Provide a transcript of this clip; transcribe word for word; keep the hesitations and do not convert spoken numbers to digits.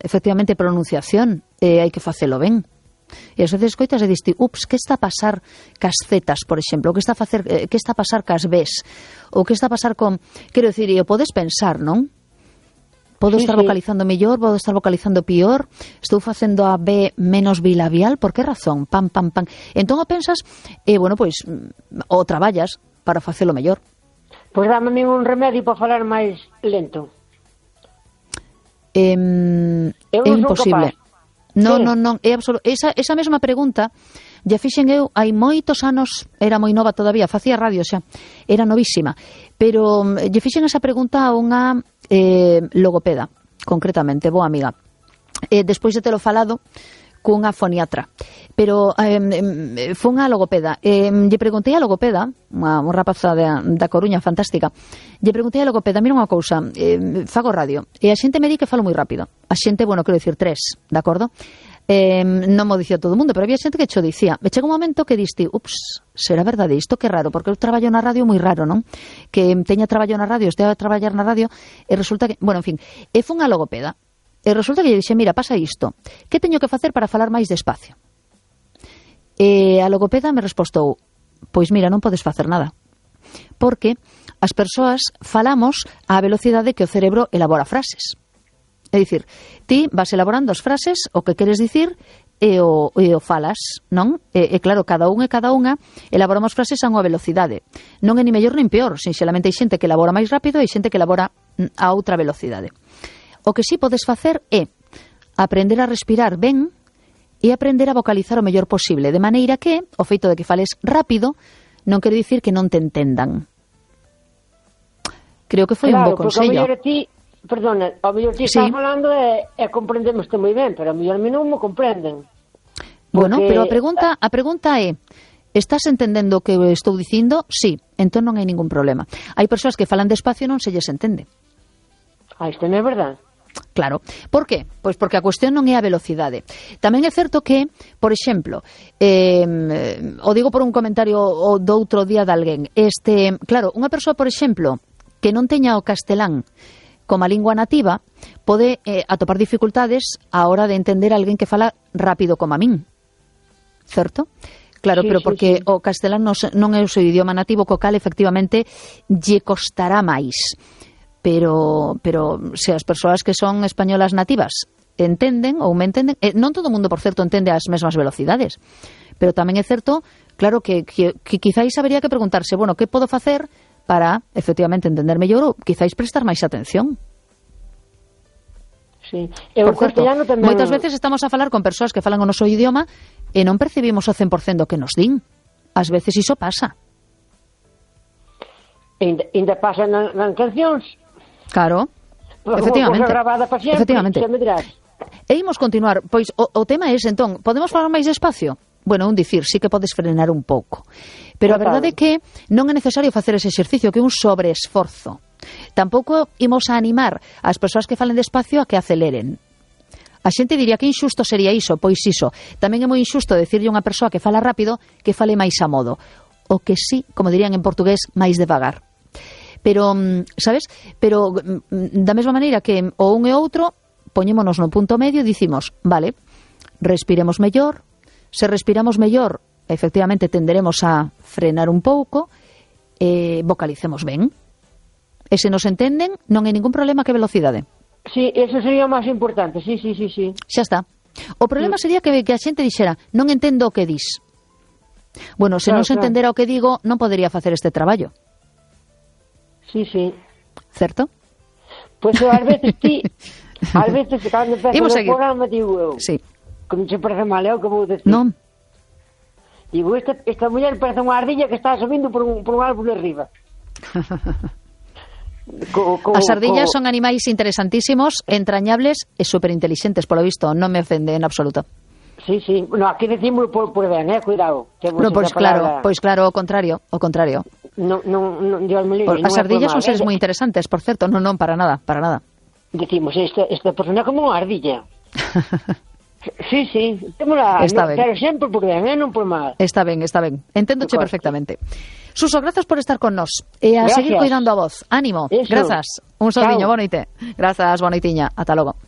efectivamente, pronunciación, e hai que facelo ben. E ás veces coitas e diste, ups, que está a pasar cas zetas, por exemplo, o que está a facer, eh, que está a pasar cas bes, ou que está a pasar con, quero dicir, e o podes pensar, non? Podo Sí, estar sí. vocalizando mellor, podo estar vocalizando pior, estou facendo a B menos bilabial, por que razón? Pam, pam, pam. Entón o pensas, e, bueno, pois, o traballas para facelo mellor. Pois dame a mí un remedio para falar máis lento. Eh, Eu é non son imposible. capaz. Non, Sí. non, non, é absoluto. Esa, esa mesma pregunta ya fixen eu hai moitos anos, era moi nova todavía, facía radio xa, era novísima, pero mm, lle fixen esa pregunta a unha eh, logopeda, concretamente, boa amiga. Eh, despois de telo falado cunha foniatra, pero eh, foi unha logopeda. Eh, lle preguntei a logopeda, unha, unha rapaza da, da Coruña fantástica, lle preguntei a logopeda, mira unha cousa, eh, fago radio, e a xente me di que falo moi rápido. A xente, bueno, quero dicir tres, de acordo? Eh, non mo dicía todo o mundo, pero había xente que cho dicía. Me chega un momento que diste, ups, será verdade isto, que raro, porque eu traballo na radio moi raro, non? Que teña traballo na radio, estea a traballar na radio, e resulta que, bueno, en fin, e foi unha logopeda. E resulta que lle dixe, mira, pasa isto, que teño que facer para falar máis despacio? E a logopeda me respostou, pois mira, non podes facer nada, porque as persoas falamos á velocidade que o cerebro elabora frases. É dicir, ti vas elaborando as frases, o que queres dicir, e o, e o falas, non? E, e claro, cada un e cada unha elaboramos frases a unha velocidade. Non é ni mellor nin peor, sinxelamente hai xente que elabora máis rápido e hai xente que elabora a outra velocidade. O que sí podes facer é aprender a respirar ben e aprender a vocalizar o mellor posible, de maneira que o feito de que fales rápido non quere dicir que non te entendan. Creo que foi Claro, un bo consello. Claro, porque a mellor ti, perdona, a mellor ti Sí. estás falando e, e comprendémoste moi ben, pero a mellor a mí non me comprenden. Bueno, Porque- pero a pregunta, a pregunta é, estás entendendo o que estou dicindo? Sí, entón non hai ningún problema. Hai persoas que falan despacio e non se lles entende. Ah, isto non é verdade. Claro. Por qué? Pois porque a cuestión non é a velocidade. Tamén é certo que, por exemplo, eh, o digo por un comentario o do outro día de alguén, este, claro, unha persoa, por exemplo, que non teña o castelán como a lingua nativa, pode eh, atopar dificultades á hora de entender a alguén que fala rápido como a min. Certo? Claro, Sí, pero sí, porque sí. o castelán non, se- non é o seu idioma nativo, co cal efectivamente lle costará máis. Pero, pero se as persoas que son españolas nativas entenden ou me entenden, eh, non todo o mundo, por certo, entende as mesmas velocidades, pero tamén é certo, claro, que, que, que quizáis habería que preguntarse, bueno, que podo facer para, efectivamente, entender mellor ou quizáis prestar máis atención. Sí. E o Por certo, castellano tamén... moitas veces estamos a falar con persoas que falan o noso idioma e non percibimos o cen por cento do que nos din. Ás veces iso pasa. Ainda, ainda pasa nas na cancións. Claro, Como efectivamente. cosa grabada para sempre, Efectivamente. xa me dirás. E imos continuar, pois o, o tema é ese, entón, podemos falar máis despacio? Bueno, un dicir, sí que podes frenar un pouco. Pero a Total. verdade é que non é necesario facer ese exercicio, que é un sobreesforzo. Tampouco imos a animar as persoas que falen despacio a que aceleren. A xente diría que inxusto sería iso, pois iso. Tamén é moi inxusto decirlle a unha persoa que fala rápido que fale máis a modo. O que sí, como dirían en portugués, máis devagar. Pero, sabes? Pero da mesma maneira que o un e o outro, poñémonos no punto medio e dicimos, vale, respiremos mellor, se respiramos mellor, efectivamente tenderemos a frenar un pouco, e vocalicemos ben. E se nos entenden, non hai ningún problema que velocidade. Sí, eso sería o máis importante, sí, sí, sí, sí. Xa está. O problema sería que, que a xente dixera, non entendo o que dis. Bueno, se Claro, non se claro. entendera o que digo, non podería facer este traballo. Sí, sí. Certo? Pois pues, ás veces ti, ás veces cando empezas Imos o seguir. programa digo eu, Sí. como se parece mal, é o que vou decir. Non? Digo, esta, esta muller parece unha ardilla que está subindo por un, por un árbol de arriba. Co, co, As ardillas co... son animais interesantísimos, entrañables e superinteligentes, polo visto, non me ofende en absoluto. Sí, sí. No, aquí decimos por, por ben, eh, cuidado. Que No, pois esa claro, palabra... pois claro, o contrario, o contrario. No, no, no, Dios me libre, As non é por ardillas mal, son seres eh. moi interesantes, por certo, non, non, para nada, para nada. Decimos, esta, esta persona é como unha ardilla. Sí, sí, témola, Está no, ben. pero sempre por ben, eh, non por mal. Está ben, está ben. Enténdoche Por perfectamente. Suso, grazas por estar con nós. E a Gracias. seguir cuidando a voz. Ánimo. Eso. Grazas. Un Chao. soldiño, boa noite. Grazas, boa noitiña. Ata logo.